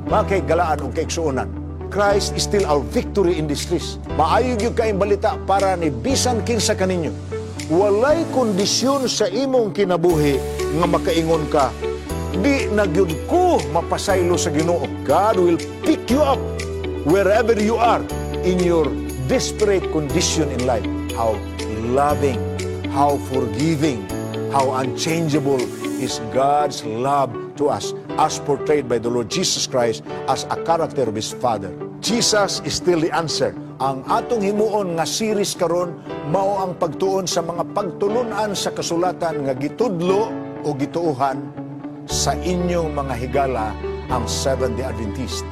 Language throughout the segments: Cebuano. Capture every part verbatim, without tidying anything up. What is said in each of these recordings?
Mga kahigalaan ug kaigsuonan, Christ is still our victory in distress. Maayo gyud kaayong balita para ni bisan kinsa kaninyo. Walay kondisyon sa imong kinabuhi nga makaingon ka, di na gyud ko mapasaylo sa Ginoo. God will pick you up wherever you are in your desperate condition in life. How loving, how forgiving, how unchangeable is God's love to us as portrayed by the Lord Jesus Christ as a character of His Father. Jesus is still the answer. Ang atong himuon nga series karon mao ang pagtuon sa mga pagtulunan sa kasulatan nga gitudlo o gituohan sa inyong mga higala ang Seventh-day Adventist.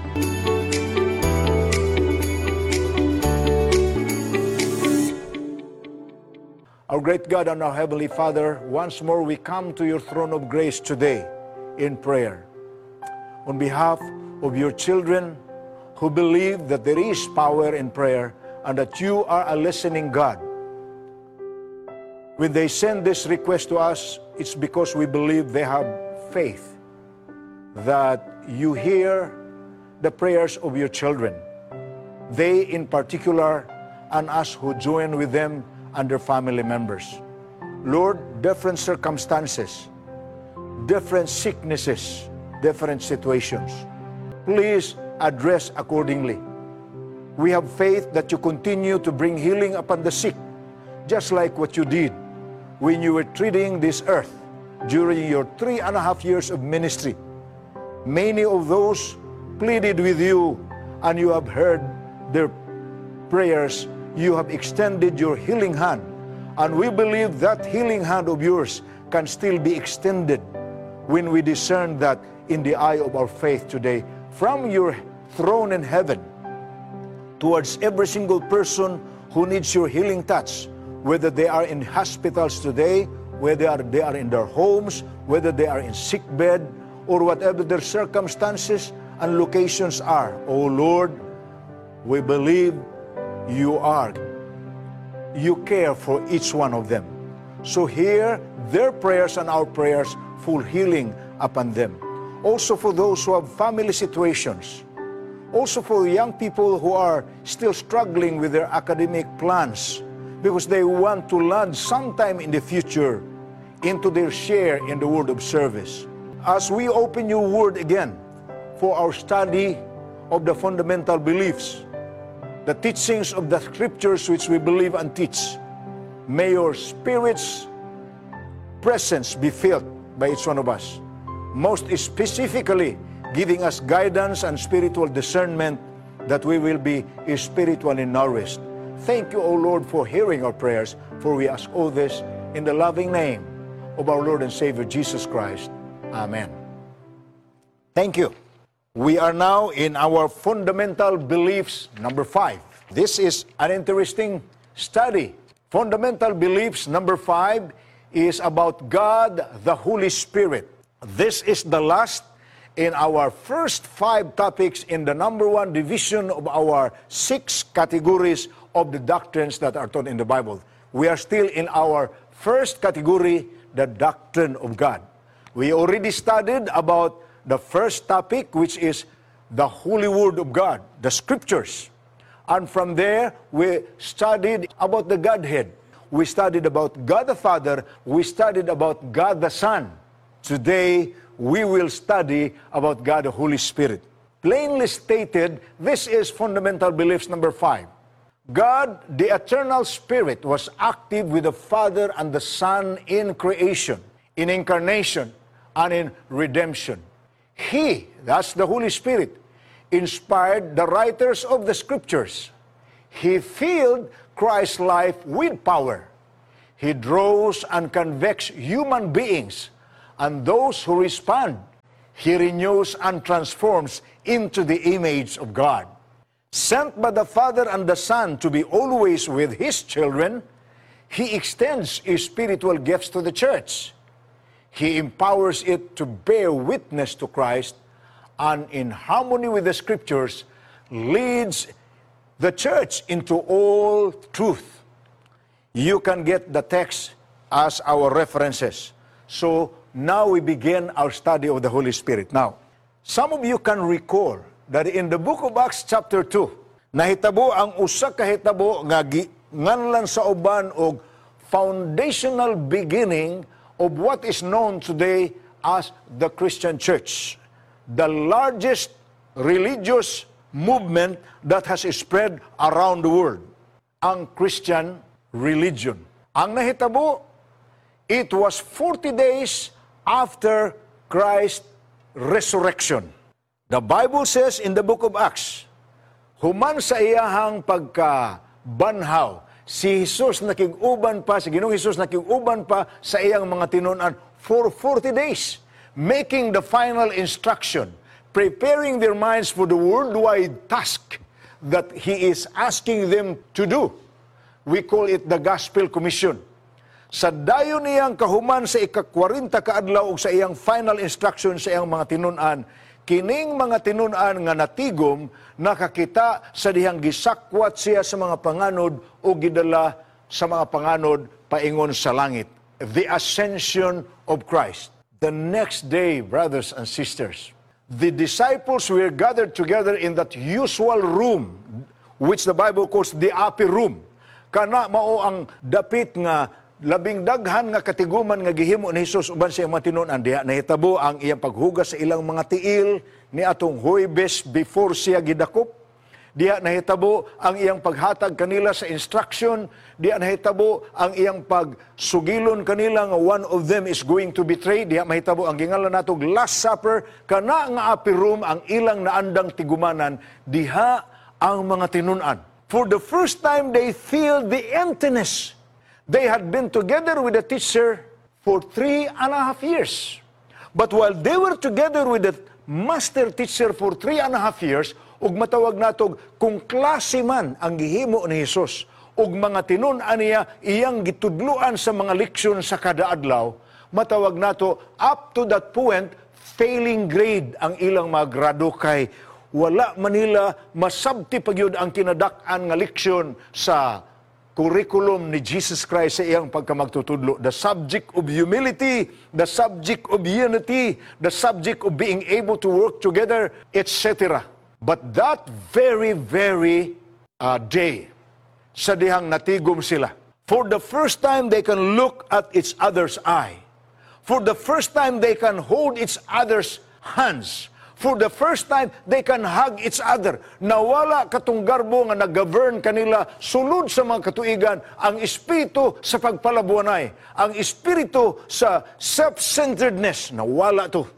Our great God and our Heavenly Father, once more we come to your throne of grace today in prayer. On behalf of your children who believe that there is power in prayer and that you are a listening God. When they send this request to us, it's because we believe they have faith that you hear the prayers of your children. They in particular, and us who join with them and their family members. Lord, different circumstances, different sicknesses, different situations. Please address accordingly. We have faith that you continue to bring healing upon the sick, just like what you did when you were treading this earth during your three and a half years of ministry. Many of those pleaded with you, and you have heard their prayers. You have extended your healing hand, and we believe that healing hand of yours can still be extended when we discern that in the eye of our faith today from your throne in heaven towards every single person who needs your healing touch, whether they are in hospitals today, whether they are, they are in their homes, whether they are in sick bed, or whatever their circumstances and locations are. Oh Lord, we believe you are. You care for each one of them. So hear their prayers and our prayers full healing upon them. Also for those who have family situations, also for young people who are still struggling with their academic plans because they want to land sometime in the future into their share in the world of service. As we open your word again for our study of the fundamental beliefs, the teachings of the scriptures which we believe and teach, may your Spirit's presence be felt by each one of us. Most specifically, giving us guidance and spiritual discernment that we will be spiritually nourished. Thank you, O Lord, for hearing our prayers, for we ask all this in the loving name of our Lord and Savior Jesus Christ. Amen. Thank you. We are now in our fundamental beliefs number five. This is an interesting study. Fundamental beliefs number five is about God, the Holy Spirit. This is the last in our first five topics in the number one division of our six categories of the doctrines that are taught in the Bible. We are still in our first category, the doctrine of God. We already studied about the first topic, which is the Holy Word of God, the Scriptures. And from there, we studied about the Godhead. We studied about God the Father. We studied about God the Son. Today, we will study about God the Holy Spirit. Plainly stated, this is fundamental beliefs number five. God, the eternal Spirit, was active with the Father and the Son in creation, in incarnation, and in redemption. He, that's the Holy Spirit, inspired the writers of the Scriptures. He filled Christ's life with power. He draws and convicts human beings, and those who respond, He renews and transforms into the image of God. Sent by the Father and the Son to be always with His children, He extends His spiritual gifts to the church. He empowers it to bear witness to Christ and in harmony with the Scriptures, leads the church into all truth. You can get the text as our references. So now we begin our study of the Holy Spirit. Now, Some of you can recall that in the book of Acts chapter two, nahitabo ang usa ka hitabo nga nganlan sa uban og foundational beginning of what is known today as the Christian Church, the largest religious movement that has spread around the world, ang Christian religion. Ang nahitabo, it was forty days after Christ's resurrection. The Bible says in the book of Acts, human sa iyahang pagkabanhaw, si Jesus nakig-uban pa, si Ginoong Jesus nakig-uban pa sa iyang mga tinunan for forty days, making the final instruction, preparing their minds for the worldwide task that He is asking them to do. We call it the Gospel Commission. Sa dayon niyang kahuman sa ika-kwarenta kaadlaw ug sa iyang final instruction sa iyang mga tinunan, kining mga tinunan nga natigom nakakita sa dihang gisakwat siya sa mga panganod o gidala sa mga panganod paingon sa langit. The ascension of Christ. The next day, brothers and sisters, the disciples were gathered together in that usual room, which the Bible calls the upper room. Kana mao ang dapit nga labing daghan nga katiguman nga gihimo ni Jesus uban sa iyang mga tinunan. Diha nahitabo ang iyang paghugas sa ilang mga tiil ni atong Huwebes before siya gidakop. Diha nahitabo ang iyang paghatag kanila sa instruction. Diha nahitabo ang iyang pagsugilon kanila nga one of them is going to betray. Diha mahitabo ang gingalan natog Last Supper. Kana nga upper room ang ilang naandang tigumanan. Diha ang mga tinunan. For the first time, they feel the emptiness. They had been together with the teacher for three and a half years. But while they were together with the master teacher for three and a half years, ug matawag natog kung klase man ang gihimo ni Jesus, ug mga tinun-an niya iyang gitudluan sa mga leksyon sa kada adlaw, matawag nato up to that point, failing grade ang ilang mga grado kay wala man nila masabti pagyud ang kinadak-an nga leksyon sa curriculum ni Jesus Christ sa iyang pagkamagtutudlo. The subject of humility, the subject of unity, the subject of being able to work together, et cetera. But that very, very uh, day, sa dihang natigom sila, for the first time they can look at each other's eye. For the first time they can hold each other's hands. For the first time, they can hug each other. Nawala katong garbo nga nag-govern kanila sulod sa mga katuigan ang espiritu sa pagpalabuanay, ang espiritu sa self-centeredness. Nawala to.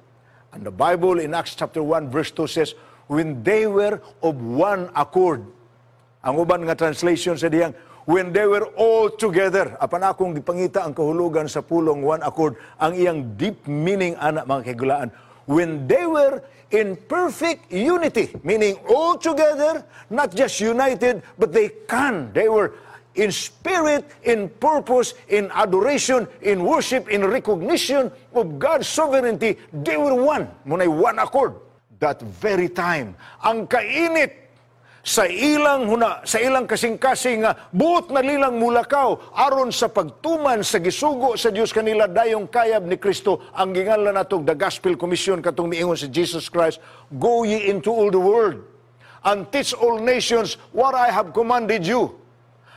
And the Bible in Acts chapter one verse two says, when they were of one accord. Ang uban nga translation sa diyang, when they were all together. Apan akong gipangita ang kahulugan sa pulong "one accord", ang iyang deep meaning ana, mga kagulaan. When they were in perfect unity, meaning all together, not just united, but they can. They were in spirit, in purpose, in adoration, in worship, in recognition of God's sovereignty. They were one. Muna'y one accord. That very time, ang kainit sa ilang huna, sa ilang kasing-kasing nga buot na nilang mulakaw aron sa pagtuman sa gisugo sa Dios kanila dayong kayab ni Kristo, ang ginganlan natog the Gospel Commission, katong miingon si Jesus Christ, "Go ye into all the world and teach all nations what I have commanded you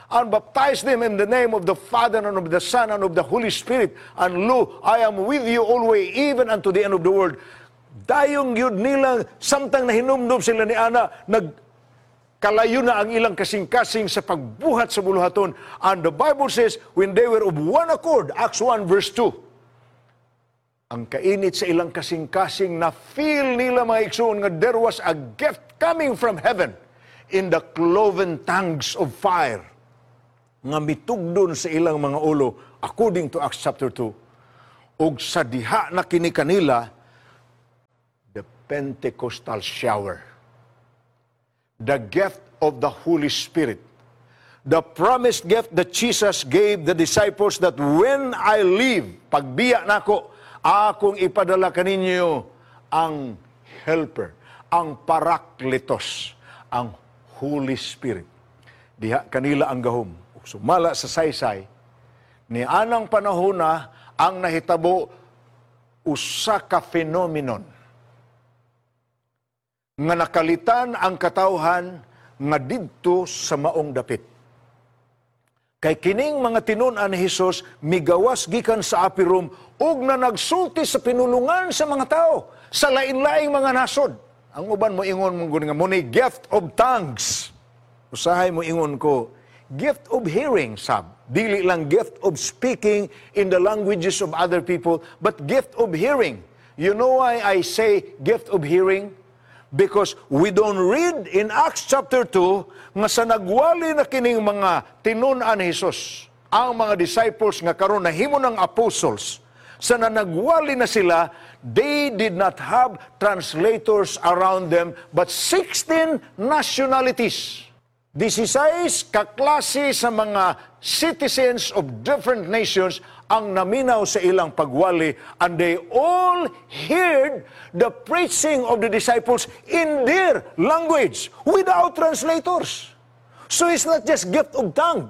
and baptize them in the name of the Father and of the Son and of the Holy Spirit. And lo, I am with you always, even unto the end of the world." Dayong yun nila, samtang nahinumdum sila ni Ana, nag kalayo na ang ilang kasing-kasing sa pagbuhat sa buluhaton. And the Bible says, when they were of one accord, Acts one verse two, ang kainit sa ilang kasing-kasing na feel nila, mga igsoon, nga there was a gift coming from heaven in the cloven tongues of fire nga mitugdon sa ilang mga ulo according to Acts chapter two. Ug sa diha na kini kanila the Pentecostal shower, the gift of the Holy Spirit, the promised gift that Jesus gave the disciples that when I leave, pagbiya nako, akong ipadala kaninyo ang Helper, ang Parakletos, ang Holy Spirit. Diha kanila ang gahom. Sumala sa saysay, ni anang panahon na ang nahitabo usa ka phenomenon. Nga nakalitan ang katawhan nga didto sa maong dapit. Kay kining mga tinun-an ni Hesus migawas gikan sa upper room ug na nagsulti sa pinulungan sa mga tao sa lain-laing mga nasod. Ang uban mo ingon mo nga mo ni gift of tongues. Usahay mo ingon ko, gift of hearing sab. Dili lang gift of speaking in the languages of other people, but gift of hearing. You know why I say gift of hearing? Because we don't read in Acts chapter two nga sa nagwali na kining mga tinun-an ni Jesus, ang mga disciples nga karon nahimo ng apostles, sa na nagwali na sila, they did not have translators around them, but sixteen nationalities. sixteen kaklase sa mga citizens of different nations ang naminaw sa ilang pagwali, and they all heard the preaching of the disciples in their language without translators. So it's not just gift of tongue.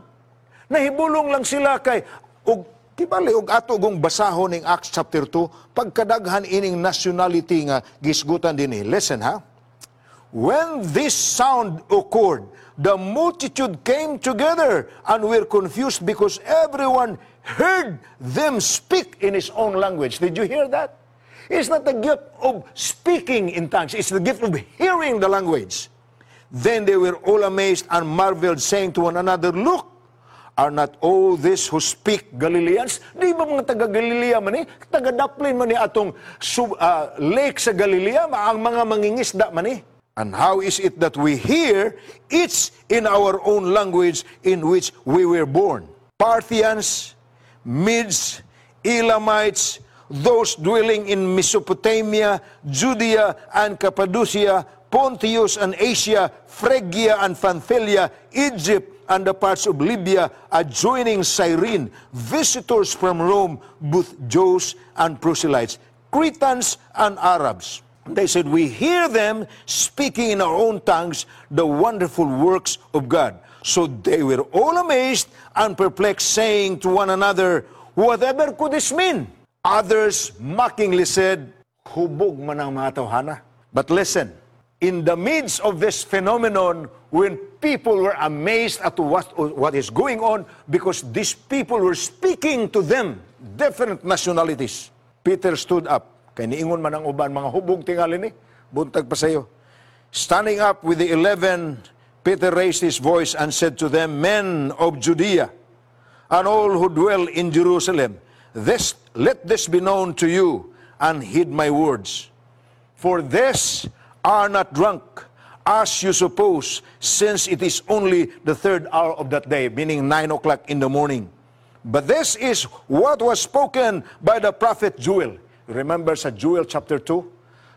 Nahibulong lang sila kay og kibali og ato gong basahon ning Acts chapter two, pagkadaghan ining nationality nga gisgutan dinhi. Listen, ha. When this sound occurred, the multitude came together and were confused because everyone heard them speak in his own language. Did you hear that? It's not the gift of speaking in tongues, it's the gift of hearing the language. Then they were all amazed and marveled, saying to one another, "Look, are not all these who speak Galileans?" Di ba mga taga Galilea man ni? Taga daplin man ni atong sub, uh, lake sa Galilea, ang mga mangingisda man ni. "And how is it that we hear each in our own language in which we were born? Parthians, Medes, Elamites, those dwelling in Mesopotamia, Judea and Cappadocia, Pontus and Asia, Phrygia and Pamphylia, Egypt and the parts of Libya adjoining Cyrene, visitors from Rome, both Jews and proselytes, Cretans and Arabs." They said, "We hear them speaking in our own tongues the wonderful works of God." So they were all amazed and perplexed, saying to one another, "Whatever could this mean?" Others mockingly said, "Hubog man ang mga tawhana." But listen, in the midst of this phenomenon, when people were amazed at what, what is going on, because these people were speaking to them, different nationalities, Peter stood up. Kay niingon man ang uban, "Mga hubog tingali ni, buntag pa sayo." Standing up with the Eleven, Peter raised his voice and said to them, "Men of Judea, and all who dwell in Jerusalem, this, let this be known to you, and heed my words. For these are not drunk, as you suppose, since it is only the third hour of that day," meaning nine o'clock in the morning. "But this is what was spoken by the prophet Joel." Remember sa Joel chapter two?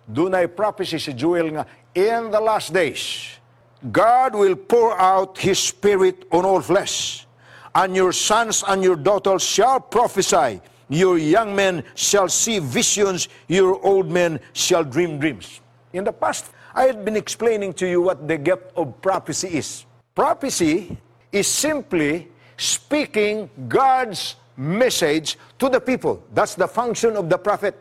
Dunay prophecy si Joel nga in the last days, God will pour out His Spirit on all flesh. And your sons and your daughters shall prophesy. Your young men shall see visions. Your old men shall dream dreams. In the past, I had been explaining to you what the gift of prophecy is. Prophecy is simply speaking God's message to the people. That's the function of the prophet.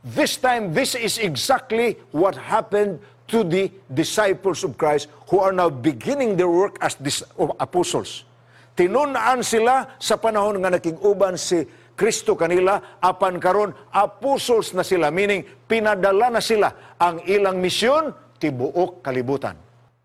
This time, this is exactly what happened to the disciples of Christ who are now beginning their work as dis- apostles. Tinun-an sila sa panahon nga nakig-uban si Kristo kanila, apan karon apostles na sila, meaning pinadala na sila ang ilang misyon tibuok kalibutan.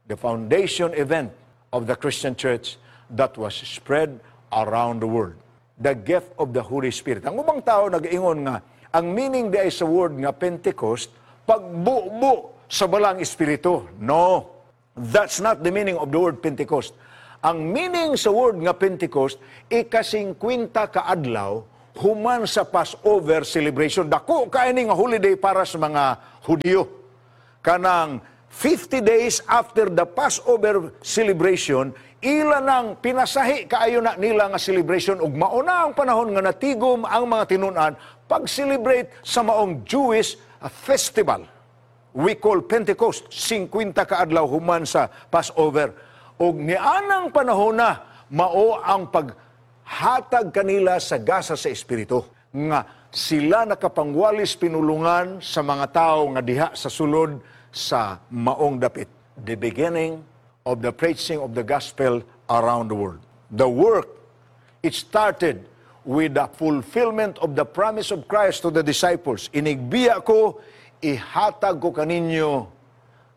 The foundation event of the Christian Church that was spread around the world. The gift of the Holy Spirit. Ang ubang tao nag-ingon nga ang meaning di ay sa word nga Pentecost, pagbubo sa Balaang Espiritu. No, that's not the meaning of the word Pentecost. Ang meaning sa word nga Pentecost, ikasingkwenta ka adlaw human sa Passover celebration. Dako kaayo nga holiday para sa mga Hudiyo. Kanang fifty days after the Passover celebration, ila nang pinasahi kaayo na nila nga celebration ug mauna ang panahon nga natigom ang mga tinun-an pag-celebrate sa maong Jewish festival. We call Pentecost, singkwenta ka adlaw human sa Passover. Ug nianang panahon na mao ang paghatag kanila sa gasa sa Espiritu nga sila nakapangwalis pinulungan sa mga tao nga diha sa sulod sa Jerusalem. sa maong dapit. The beginning of the preaching of the gospel around the world. The work, it started with the fulfillment of the promise of Christ to the disciples. Inigbiya ko, ihatag ko kaninyo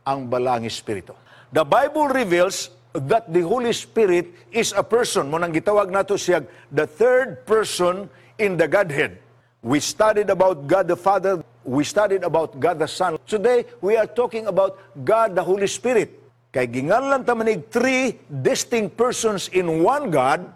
ang Balaang Espiritu. The Bible reveals that the Holy Spirit is a person. Mao nang gitawag nato siya the third person in the Godhead. We studied about God the Father, we studied about God the Son. Today, we are talking about God the Holy Spirit. Kay ginganlan ta manig three distinct persons in one God,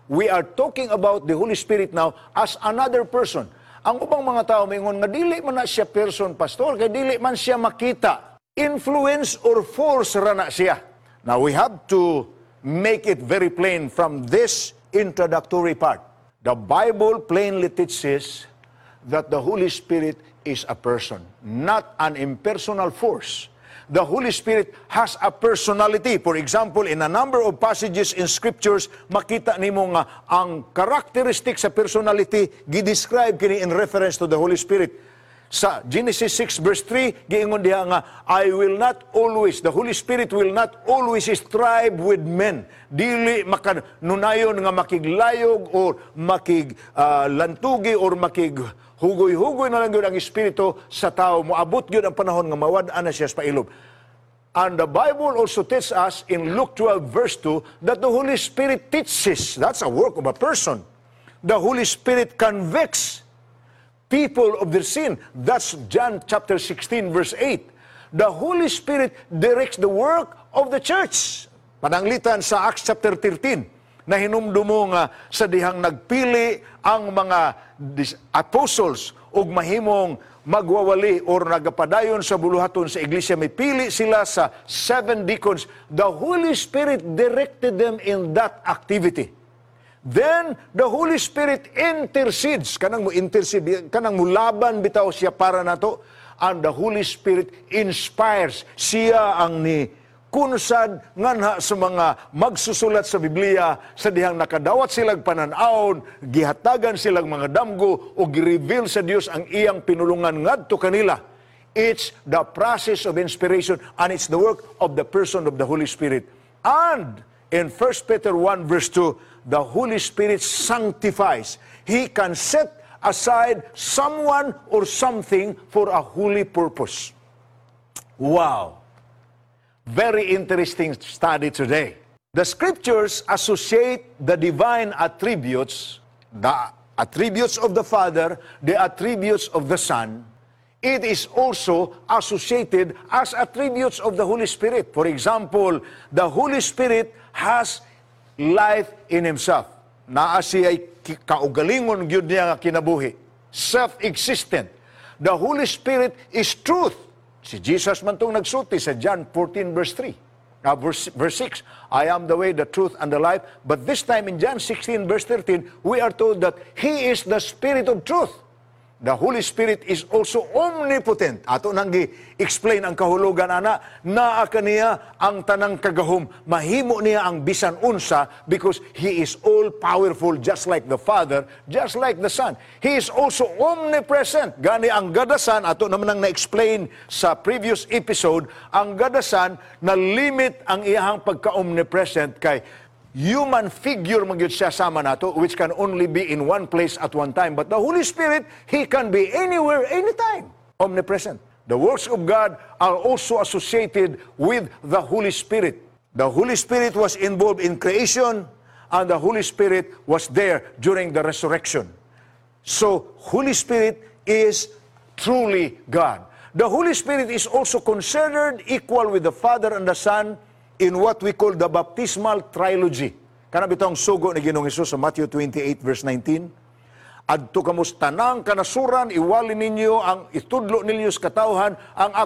we are talking about the Holy Spirit now as another person. Ang ubang mga tao moingon nga dili man na siya person, pastor, kay dili man siya makita. Influence or force ra na siya. Now we have to make it very plain from this introductory part. The Bible plainly teaches that the Holy Spirit is a person, not an impersonal force. The Holy Spirit has a personality. For example, in a number of passages in scriptures, makita nimo nga ang characteristic sa personality gi-describe kini in reference to the Holy Spirit. Sa Genesis six verse three, giingon diha nga, I will not always, the Holy Spirit will not always strive with men. Dili makanunayon nga makiglayog or makig ah, lantugi or makig hugoy-hugoy na lang gyud ang espiritu sa tao. Moabot gyud ang panahon nga mawad-an na siya sa pailob. And the Bible also teaches us in Luke twelve verse two that the Holy Spirit teaches. That's a work of a person. The Holy Spirit convicts people of their sin. That's John chapter sixteen verse eight. The Holy Spirit directs the work of the church. Pananglitan sa Acts chapter thirteen, na hinumdumo nga sa dihang nagpili ang mga dis- apostles og mahimong magwawali or nagapadayon sa buluhaton sa iglesia, may pili sila sa seven deacons. The Holy Spirit directed them in that activity. Then the Holy Spirit intercedes, kanang mo intercede, kanang mulaban bitaw siya para nato. And the Holy Spirit inspires. Siya ang ni kunsad nganha sa mga magsusulat sa Biblia sa dihang nakadawat silang panan-awon, gihatagan silang mga damgo o gi-reveal sa Dios ang iyang pinulungan ngadto kanila. It's the process of inspiration and it's the work of the person of the Holy Spirit. And in First Peter one verse two, the Holy Spirit sanctifies. He can set aside someone or something for a holy purpose. Wow. Very interesting study today. The scriptures associate the divine attributes, the attributes of the Father, the attributes of the Son. It is also associated as attributes of the Holy Spirit. For example, the Holy Spirit has life in Himself. Naa siya kaugalingon gyud niya nga kinabuhi. Self-existent. The Holy Spirit is truth. Si Jesus man tong nagsulti sa John fourteen verse three. Uh, verse, verse six, "I am the way, the truth, and the life." But this time in John sixteen verse thirteen, we are told that He is the Spirit of truth. The Holy Spirit is also omnipotent. Ato nang gi-explain ang kahulugan ana, naa kaniya ang tanang kagahom. Mahimo niya ang bisan unsa because He is all powerful, just like the Father, just like the Son. He is also omnipresent. Gani ang God the Son, ato naman ang na-explain sa previous episode, ang God the Son na limit ang iyahang pagka-omnipresent kay human figure man gyud siya sama nato, which can only be in one place at one time. But the Holy Spirit, He can be anywhere, anytime. Omnipresent. The works of God are also associated with the Holy Spirit. The Holy Spirit was involved in creation and the Holy Spirit was there during the resurrection. So, Holy Spirit is truly God. The Holy Spirit is also considered equal with the Father and the Son in what we call the baptismal trilogy. Kana bitong sugo ni Ginoong Hesus sa Matthew twenty-eight verse nineteen. "Adto kamo sa tanang kanasuran, iwali ninyo ang itudlo ninyo sa katawhan ang ako